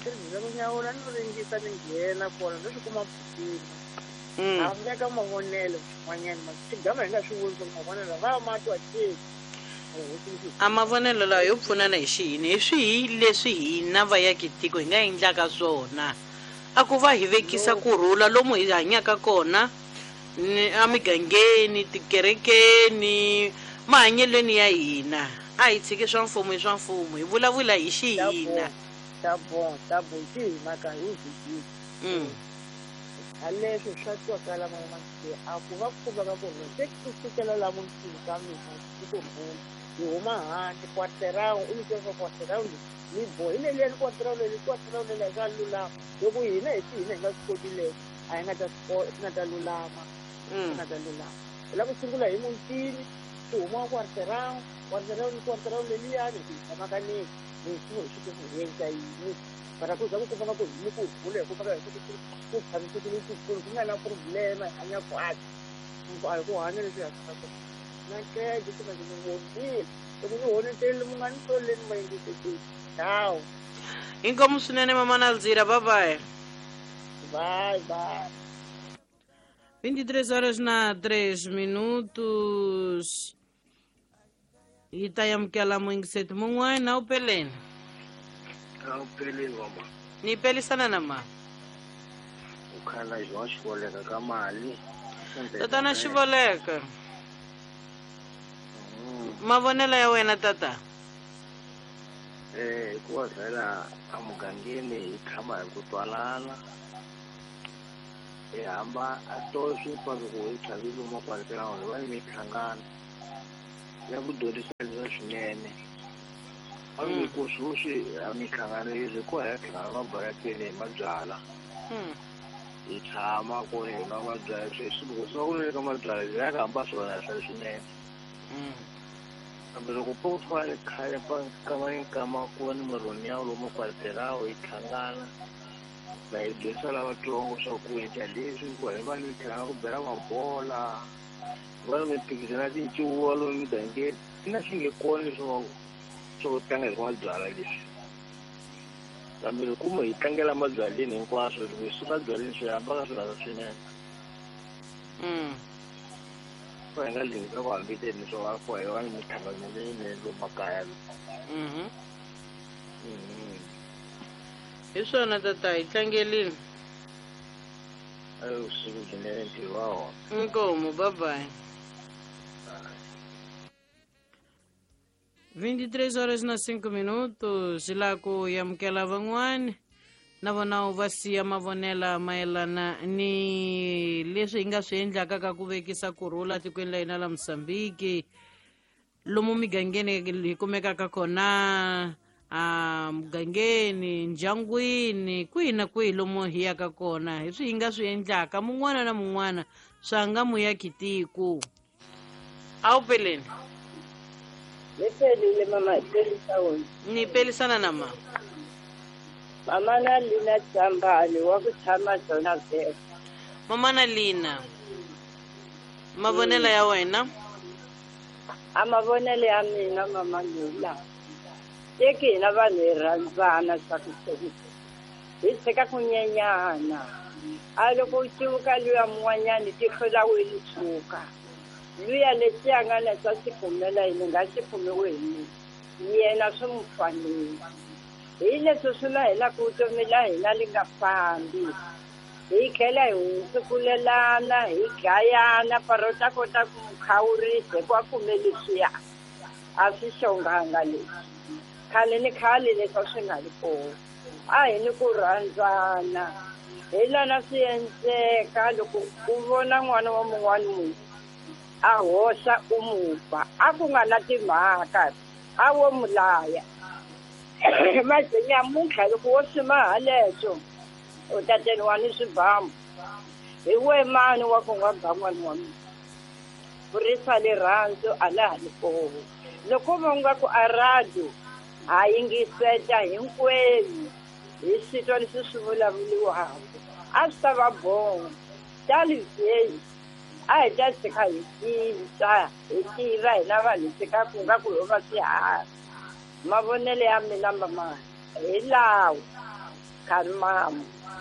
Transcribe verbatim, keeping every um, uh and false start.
Tirhisa ku nyawula no ringisa ni nghena kona no swi kuma pfukini. Mm. A veka mavonelo n'wanyana ma xigama hi nga swi vuli swa ku mavonelo va ma twa ke. A mavonelo lawa yo pfunana hi xiyini hi swihi leswi hina vayakitiko hi nga endlaka swona a ku va hi vekisa kurhula lomu hi hanyaka kona ni emigangeni tikerekeni mahanyelweni ya hina a hi tshiki swa mfumo hi swa mfumo hi vulavula hi xihina Ta bon, ta bon xi hina ka hi vhikini. Mm. A leswi swa twakala mama a ku va ku veka ku se ku sukela la mutini ka mina i ku rhula. Hi huma handle quarter-round u yi twa quarter-round ni bohi leliyani quarter-round leri quarter-round leri swa lulama. Loko hina hi xihina hi nga swi koti leswo a hi nga ta swi swi nga ta lulama. Swi Mm. nga ta lulama. Hi lava ku sungula hi mutini swi huma quarter-round quarter-round quarter-round leliyani hi tshama ka ni hi swi hi swi ku hi endla yini. Mara ku za ku kumeka ku hi ni ku rhula hi kumeka hi ku ku tshamisekile tikulu ku nga na problem hi hanya kahle. A hi ku hanya leswi hi hanyaka swona. Na nkeje kumbe ni vonile loko ni honeterile mi nga ni soleni ma yingisekile. Ciao. Inkomu swinene mama Nalzira bye bye. Bye bye. vinte e três horas na três minutos. Hi ta amukela muyingiseti mun'wana wu peleni. A wu peleni mama. Ni pelisana na ma. U khala João Xivoleka ka mali. Tatana Xivoleka. Mavonelo ya wena tata. Eh hikuva vhela emugangeni hi tshama hi ku twanana. Hi hamba a to swi loko hi tlhavile makwalekela hi va ni mihlangano ya ku dyondzisa swinene. A ni ku sweswi a mihlangano yi ri ko hi hlangana mabarakeni hi mabyala. Hi tshama ku hi nwa mabyala sweswi loko swi va ku ka mabyala hi ya ka hamba swona swa swinene. Kambe loko po fana khale pa nkama ni nkama ku va ni murhoni ya lomu kwalekelawo hi hlangana va hi dyondzisa lavatsongo swa ku endla leswi ku hi va ni mihlangano ku bela mabola va ni mimphikizano ya tincuva lomu migangeni na swi nge kona leswi swo tlanga hi mabyala leswi. Kambe loko mo hi tlangela mabyaleni hinkwaswo loko hi suka byaleni swi hamba ka swirhasa swinene. Mm. Va hi nga lingisa ku hambeteni swo va ku hi va ni mihlangano leyinene lomu makaya. Mhm. Mhm. Hi swona tata hi tlangelini. Ayo vusiku byinene ntirho wa wona. Inkomu bye bye. vinte e três horas na cinco minutos la ku amukela van'wani na vona u va siya mavonela mayelana ni leswi hi nga swi endlaka ka ku vekisa kurhula tikweni la hina la Mozambique lomu migangeni hi kumekaka kona a mugangeni ndyangwini kwihi na kwihi lomu hi yaka kona hi swi hi nga swi endlaka mun'wana na mun'wana swa nga muyakitiko. A wu peleni. Ni pelile mama, pelisa wena. Ni pelisana na ma. Mama na Lina Tsambani wa ku tshama Zona Vest. Mama na Lina. Mavonelo ya wena? A mavonelo ya mina mama Lina. Teki hina vanhu hi rhandzana swa ku hi tshika ku nyenyana. A loko u civuka luya mun'wanyani tihlo la wena ri tshuka. Luya lexi a nga na xa xi kumela yini nga xi kumiwi hi mina. Yena swi n'wi fanele. Hi leswi swi na hina ku vutomi la hina li nga fambi. Hi tlhela hi hundzukulelana, hi dlayana, para u ta kota ku n'wi khawurisa hikuva a kume leswiya. A swi xonganga leswi. Khale ni khale leswi a swi nga ri kona. A hi ni ku rhandzana. Hi lana swi endleka loko u vona n'wana wa mun'wani munhu a hoxa u mu ba. A ku nga na timhaka, a wo mu laya. Manje nyamuntlha loko wo swi haleswo u ta teriwa ni swibamu. Hi we mani wa ku nga ba n'wana wa mina. Kurisa rirhandzu a la ha ri kona. Loko va nga ku a radio ha yingiseta hinkwenu hi swi twa leswi swi vulavuriwaka a swi ta va bongo. Tali a hi ta tshika hi cinca hi tiva hina vanhu hi tshika ku nga ku ho va swiharhi. Mavonelo ya mina mama hi lawa. Karimamu.